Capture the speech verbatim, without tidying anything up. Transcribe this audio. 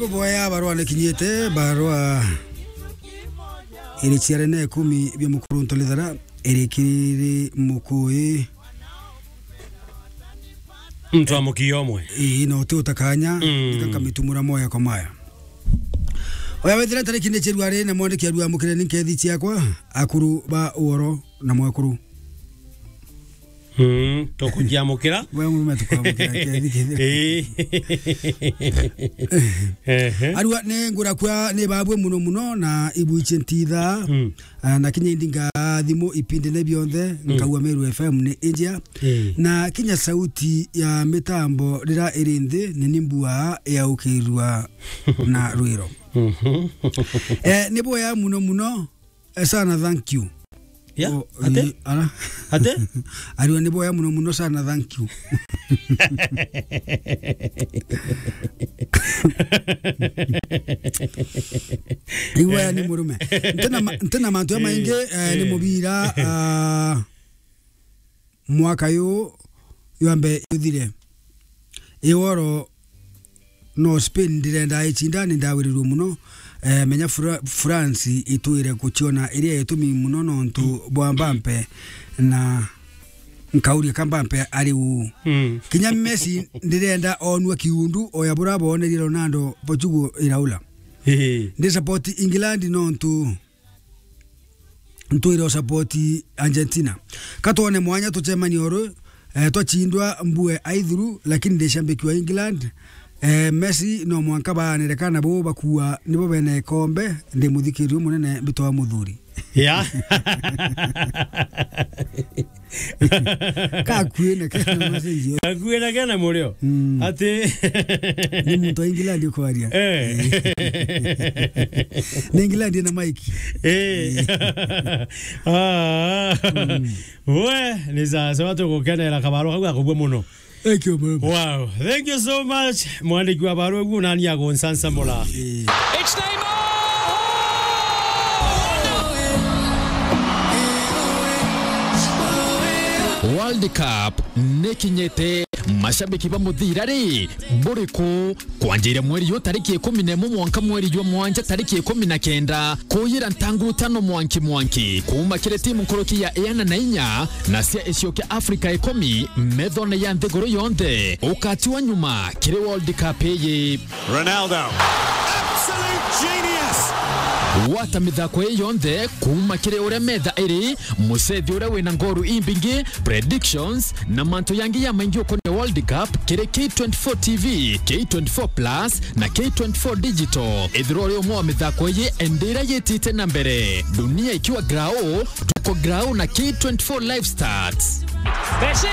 Boya barua nikinyite, barua iri ciarene ikumi bia mukuru ntolithara, iri kiri mukui. Muntu wa mukiyo umwe. Ii, no ti utakanya, mm, nika nkamitumura moya kwa maya. Oya wethira tariki ni chirwari na mwandiki arua mukire ni nkethi ciakwa, akuru ba uoro na mwekuru. Mm, tukujiamukira. We murume tukwamukira, kethi, kethi. Ii. Ehe. Arua ni ngura kwa ni babwe muno muno na ibuiche ntitha. Mm. Ah, na kinya indinga thimu ipindi ne bionthe, mm, nkaua Meru F M ni injia. Ii. Na kinya sauti ya mitambo rira iri nthi, ni nimbua yaukirua na rwiro. Mhm. Eh, ni boya muno muno. Eh, sana, thank you. Ya, oh, ate? Eh, ara. Ate? Ariwa ni boya muno muno sana, thank you. Iwe ni murume. Ntena ma-, ntena mantu ya maingi, eh, ni, eh, mubira, ah, mwaka yu yambe yuthire. Iworo no Spain ndirenda icinda, ni ndawirirwe muno. Eh, menya Fra-, France itwire kuciona iria itumi muno nontu bwa Mbappe na nkauria ka Mbappe ari uu. Mm. Kinya Messi ndirenda onua kiundu oya bura bonerie Ronaldo Portugal iraula. Ehe. Ndi support England nontu ntwire o support Argentina. Ka twone mwanya tucemanie oru, eh, twachindwa mbue aithuru, lakini ndi shabiki wa England. Eh, Messi no mwanka baanire kana bo bakua nibo bene ikombe, ndi muthikirio munene mbitwa muthuri. Ya. Kakui na kena macenjio. Kakui na kena murio. Mm. Ati. Ni muntu wa England ukwaria. Eh. Ni England na Mike. Eh. Ah. Mm. We, ni sawa sawa, tugukenera kabaro kau gakubua muno. Thank you, man. Wow, thank you so much. Mwandiki wa barua gu nani agunsansamura? Eh. It's Neymar! World Cup nikinyite. Mashabiki ba muthira ri, buriku? Kwanjiria mweri yu tariki ikumi na imwe mwanka mweri jwa mwanja tariki ikumi na kenda, kuyira ntanguru tano mwanki mwanki, kuuma kiri timu nkuruki ya iana na inya na cia icio kia Afrika ikumi, methone ya nthiguru yonthe, ukatiwa nyuma kiri World Cup iyi. Ronaldo. Absolute genius. Gwata mithako ii yonthe kuuma kiri uria metha iri, mucethi uria wina ngoru imbingi, predictions, na mantu yangi ya maingi ukonia World Cup kiri K twenty-four T V, K twenty-four Plus, na K twenty-four Digital. Ethirwa uri umwe wa mithako iyi, indi iria yitite na mbere. Dunia ikiwa grau, tuko grau na K twenty-four Live Stats. Messi!